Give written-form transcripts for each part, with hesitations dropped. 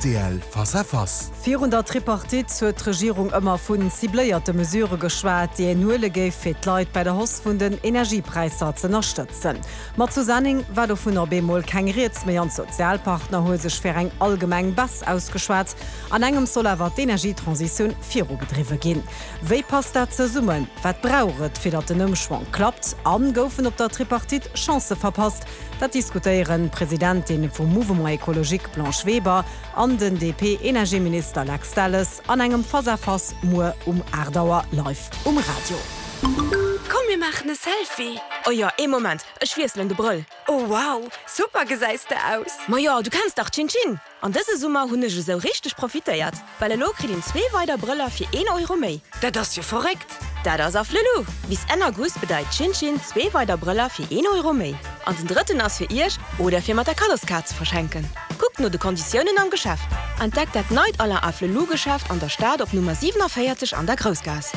Rtl Face à Face. Virun der Tripartite huet d'Regierung ëmmer vu cibléierte Mesurë geschwat, déi een huele géif, fir d'Leit bei der Hausse vun den Energiepräisser z'ënnerstëtzen. Ma zu Senneng war dovun op eemol keng Rieds méi an d'Sozialpartner hu sech fir eng allgemeng Baisse ausgeschwat. An engems soll awer d'Energietransitioun virugedriwwe ginn. Wéi passt dat zesummen? Wat brauch et, fir datt den Ëmschwonk klappt? A goufen op der Tripartite Chancë verpasst? Dat diskutéieren d'Presidentin vum Mouvement Ecologique Blanche Weber an den DP-Energieminister Lex Delles an engem Face-à-Face muer um 8 Auer live um Radio. Komm mir maachen e Selfie! Oh jo, ee Moment, ech wiesselen de Brëll. Oh wow, super gesäis de aus! Majo, du kenns dach Chin Chin! An dëse Summer hunn ech esou richteg profitéiert, well elo kritt een zwee weider Brëller fir een Euro méi. Dat ass jo verréckt! Dat ass Afflelou! Bis Enn August bedeit Chin Chin zwee weider Brëller fir een Euro méi. An den drëtten ass fir iech oder fir mat der Kaddoskaart ze verschenken. Kuckt no de Konditiounen am Geschäft. Entdeckt dat neit Alain Afflelou Geschäft an der Stad op Nummer 47 an der Groussgaass.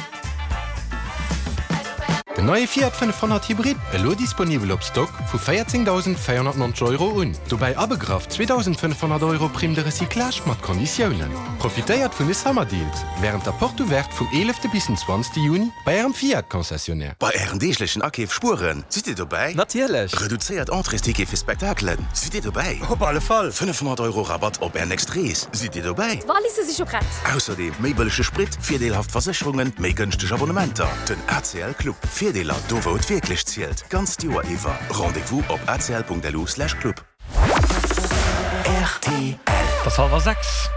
Den neie Fiat 500 Hybrid, elo disponibel op Stock vu 14.490 Euro un. Dobäi abegraff 2.500 Euro Prime de recyclage mat Konditiounen. Profitéiert vun de Summer Deals wärend der Porte Ouverte vum 11 bis den 20 Juni bei ärem Fiat Concessionnaire. Bei ären deeglechen Akeef spueren, sidd Dir dobäi? Natierlech! Reduzéiert Entréesticket fir Spektakelen, sidd Dir dobäi? Op alle Fall! 500 Euro Rabatt op Är nächst Rees, sidd Dir dobäi? D'Walisse si scho prett. Ausserdeem méi bëllege Sprit, virdeelhaft Versécherungen, méi gënschteg Abonnementer. Den ACL Club. Virdeeler do wou et wierklech zielt. D'ganzt Joer iwwer. Rendez-vous op acl.lu/club. Rtl. Et ass hallwer 6.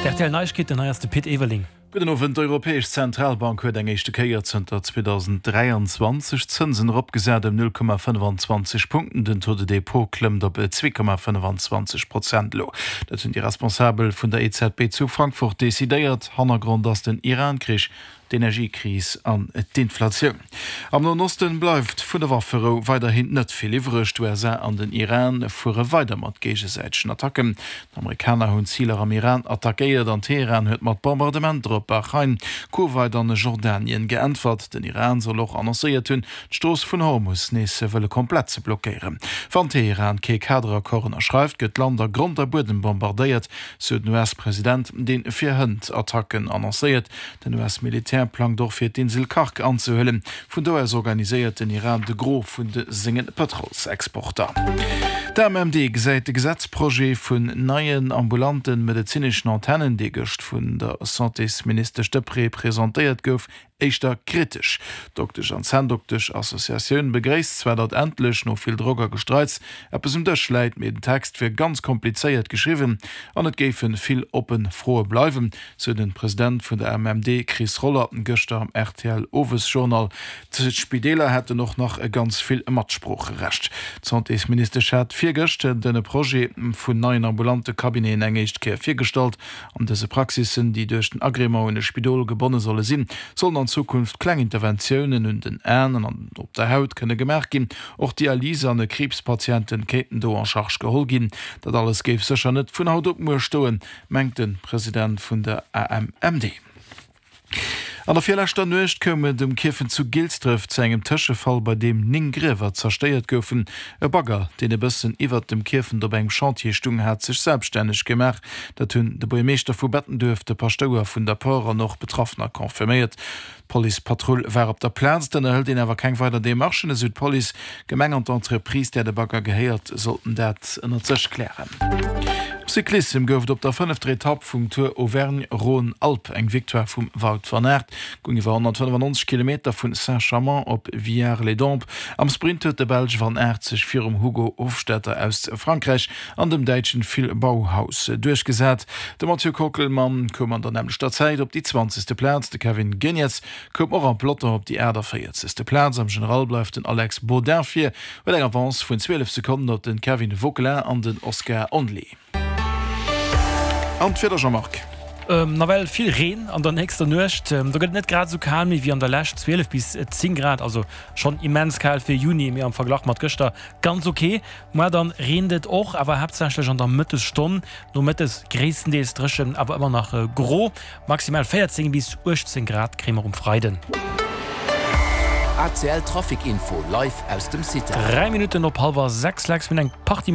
D'RTL Neiegkeeten, hei ass de Pit Everling. Gudden Owend. D'Europäesch Zentralbank huet eng éischte Kéier zënter 2023 d'Zënsen eropgesat ëm 0,25 Punkten. Den Taux de dépôt klëmmt op 2,25 Prozent elo. Dat hunn déi Responsabel vun der EZB zu Frankfurt decidéiert. Hannergrond ass den Iran-Krich, d'Energiekris an d'Inflatioun. Am Noen Osten bleift vun der Wafferou weiderhin net vill iwwreg. D'USA an den Iran fuere weider mat géigesäitegen Attacken. D'Amerikaner hunn Ziler am Iran attackéiert an Teheran huet mat Bombardementer op Bahrain, Kuwait an Jordanien geäntwert. Den Iran soll och annoncéiert hunn, d'Strooss vun Hormus nees wëlle komplett ze blockéieren. Wann Teheran kee Kaderaccord ënnerschreift, gëtt d'Land a Grond a Buedem bombardéiert, sou den US-President, deen fir hënt Attacken annoncéiert. Den US-Militär plangt och fir d'Insel Kharg anzehuelen. Vun do aus organiséiert den Iran de Gros vun de senge Pëtrolsexporter. D'AMMD gesäit de Gesetzprojet vun neien ambulante medezineschen Antennen, dee gëscht vun der Santésministesch Deprez presentéiert gouf, éischter kritesch. D'Doktesch an Zänndoktesch-Associatioun begréisst zwar, datt endlech, no vill Drock a Gestreits, eppes um Dësch läit, mee den Text wier ganz komplizéiert geschriwwen an et géife vill oppe Froe bleiwen. Sou den President vun der AMMD Chris Roller gëschter am rtl Owesjournal. D'Spideeler hätten och nach ganz vill Matsproocherecht. D'Santésministesch hat virgëscht den Projet vun neien ambulante Cabineten eng éischt Kéier virgestallt. An dëse Praxissen, déi duerch den Agrément un e Spidol gebonne solle sinn, sollen an Zukunft kleng Interventiounen un den Aen an op der Haut kënne gemaach ginn. Och Dialyse an Kriibspatienten kéinten do en charge geholl ginn. Dat alles géif sécher net vun haut op muer stoen, mengt de President vun der AMMD. An der virleschter Nuecht koum et um Kierfent zu Gilsdref zu engem Tëschefall, bei deem 9 Griewer zerstéiert goufen. E Bagger, deen e bëssen iwwert dem Kierfent op engem Chantier stung, hat sech selbststänneg gemaach. Dat hunn de Buergermeeschter vu Bettenduerf, de Paschtouer vun der Por an och Betraffener confirméiert. D'Policepatrull war op der Plaz, et ënnerhëlt een awer keng weider Demarchen, esou d'Police. D'Gemeng an d'Entreprise, där de Bagger gehéiert, sollten dat ënnert sech klären. Am Cyclissem gouf et op der fënnefter Etapp vum Tour Auvergne-Rhône-Alpes eng Victoire vum Wout van Aert. Goung iwwer 195 Kilometer vun Saint-Chamond op Villars-les-Dombes. Am Sprint huet de Belsch van Aert sech virum Hugo Hofstetter aus Frankräich an dem Däitschen Phil Bauhaus duerchgesat. De Mathieu Kockelmann koum an der nämmlechter Zäit op déi zwanzegste Plaz, de Kevin Geniets koum och am Peloton op déi 48. Plaz. Am General bleift den Alex Baudin vir, huet eng Avance vun 12 Sekonnen op den Kevin Vauquelin an den Oscar Onley. An d'Wieder, Jean-Marc? Nawell vill Reen an der nächster Nuecht. Do gëtt et net grad esou kal méi wéi an der Lescht, 12 bis 10 Grad, also schonn immens kal fir Juni, mee am Verglach mat gëschter ganz ok. Moar dann reent et och, awer haaptsächlech an der Mëttesstonn. Nomëttes gréisstendeels dréchen, awer ëmmer nach gro. Maximal 14 bis 18 Grad kréie mer um Freiden. ACL Trafic Info live aus dem CITAL. 3 Minutten op hallwer 6, Lex, mir hunn eng Partie.